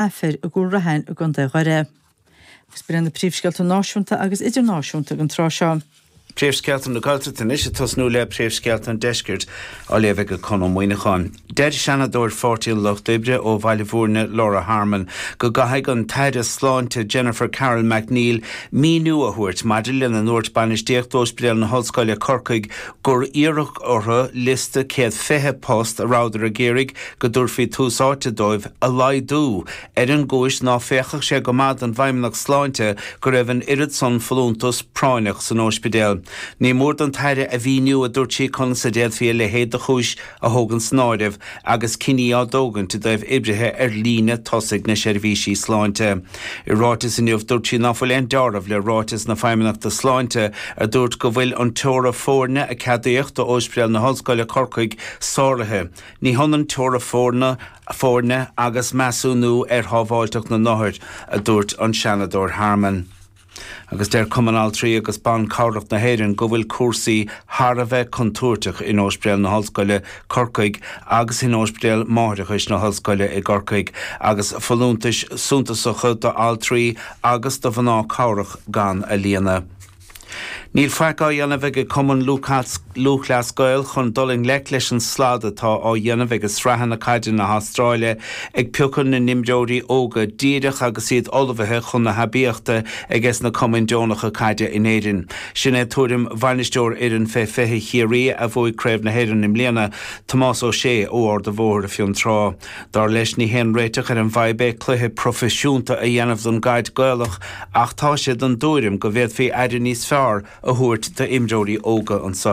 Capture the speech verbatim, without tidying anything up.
Aifir i gCúil Raithin i gContae Dhoire. Agus b'in na príomhscéalta náisiúnta agus idirnáisiúnta ag an tráth seo. Príomhscéalta na Gaeltachta anois ag tosnú le príomhscéalta an deiscirt á léamh ag Conn Ó Muíneacháin. Deir Seanadóir Pháirtí an Lucht Oibre ó Bhaile Bhúirne Laura Harmon go gcaithfidh an tAire Sláinte Jennifer Carroll MacNeill míniú a thabhairt maidir lena ndúirt bainistíocht Ospidéal na hOllscoile Corcaigh gur iarradh orthu liosta céad fiche post a rabhadar ag iarraidh go dtabharfaí tús áite dóibh a laghdú ar an gcúis ná féachfadh sé go maith don bhFeidhmeannacht Sláinte go raibh an oiread san folúntas práinneach san ospidéal. Ní mór don tAire a mhíniú a dúirt sí conas a d'fhéadfaí a leithéid de chúis a thógaint san áireamh agus cinní á dtógaint i dtaobh oibrithe ar líne tosaigh na seirbhísí sláinte. I ráiteas inniu dúirt sí ná fuil aon dealramh le ráiteas na Feidhmeannachta Sláinte a dúirt go bhfuil an teora foirne a ceadaíodh d'Ospidéal na hOllscoile Corcaigh sáraithe. Ní hionann teora foirne foirne agus measúnú ar shábháilteacht na n-othar, a dúirt an Seanadóir Harmon. Agus deir Cumann Altraí agus Ban Cabhrach na hÉireann go bhfuil cúrsaí thar a bheith contúirteach in Ospidéal na hOllscoile Corcaigh agus in Ospidéal Máithreachais na hOllscoile i gCorcaigh agus folúntais suntasacha d'altraí agus do mhná cabhrach gan a líonadh. Níl faic á dhéanamh ag Cumann Lúthchleas Gael chun dul i ngleic leis an slad atá á dhéanamh ag sraitheanna caide na hAstráile ag piocadh na n-imreoirí óga díreach agus iad ullmhaithe chun na haibíochta ages na cumainn deonacha caide in Éirinn. Sin é tuairim bhainisteoir fhoireann fé fiche Chiarraí a bhuaigh Craobh na hÉireann i mbliana, Tomás Ó Sé ó Ard an Bhóthair Fionn Trá. Dar leis ní haon réiteach ar an bhfadhb é cluiche proifisiúnta a dhéanamh don gcaid Gaelach ach tá sé den tuairim go bhféadfaí aire níos fearr a thabhairt d'imreoirí óga anseo.